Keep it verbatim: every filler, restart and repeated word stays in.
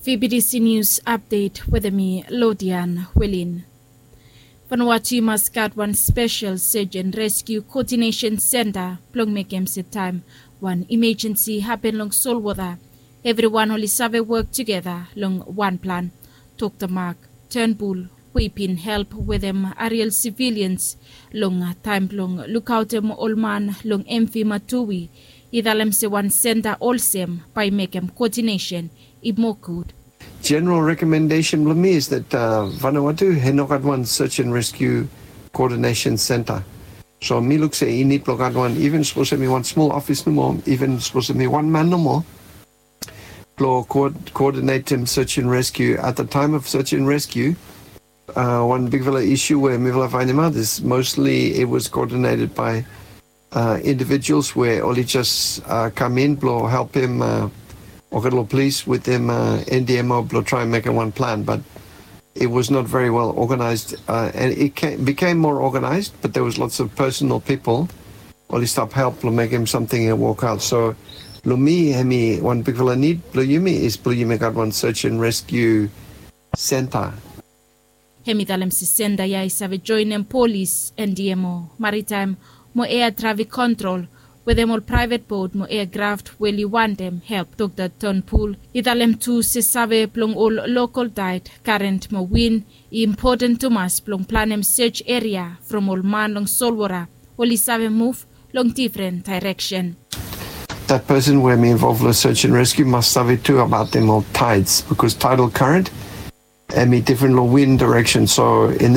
V B T C News Update wetem mi, Lodian Welin. Vanuatu i mas gat wan spesel search and rescue coordination center blong mekem se taem wan emergency hapen long solwota, evriwan oli save wok tugeta long wan plan, tok Mark Turnbull, we i bin help wetem Ariel civilians long taem blong lukaotem ol man long M V Matui, i talem se wan center olsem bae i mekem coordination i moa gud. General recommendation blong mi is that, uh, Vanuatu hem i no gat wan search and rescue coordination center. So mi luk se i nid blong gat wan, even sapos hem i wan smol ofis nomo, even sapos hem i wan man nomo, blong coordinatem search and rescue at the time of search and rescue. Uh, wan bigfala isu we mifala faenemaot is mostly it was coordinated by uh, individuals we oli jes, uh, kam in blong helpem, uh, olgeta polis wetem, uh, N D M O blong traem mekem wan plan, but it was not very well organized, uh, and it came, became more organized, but there was lots of personal people oli stap help blong mekem samting i wok aot. So long mi, hem i wan bigfala nid blong yumi is blong yumi gat wan search and rescue center. Hem i talem se center ya i save joenem polis, N D M O, maritime mo air traffic control, wetem ol private boat mo aircraft we oli wantem help. Dr Turnbull i talem tu se save blong ol local tide, current mo wind i impoten tumas blong planem search area from ol man long solwota oli save muv long difren daereksen. That person we hem i involve long search and rescue mas save tu abaotem ol tides, because tidal current hem i difren long wind direction. So in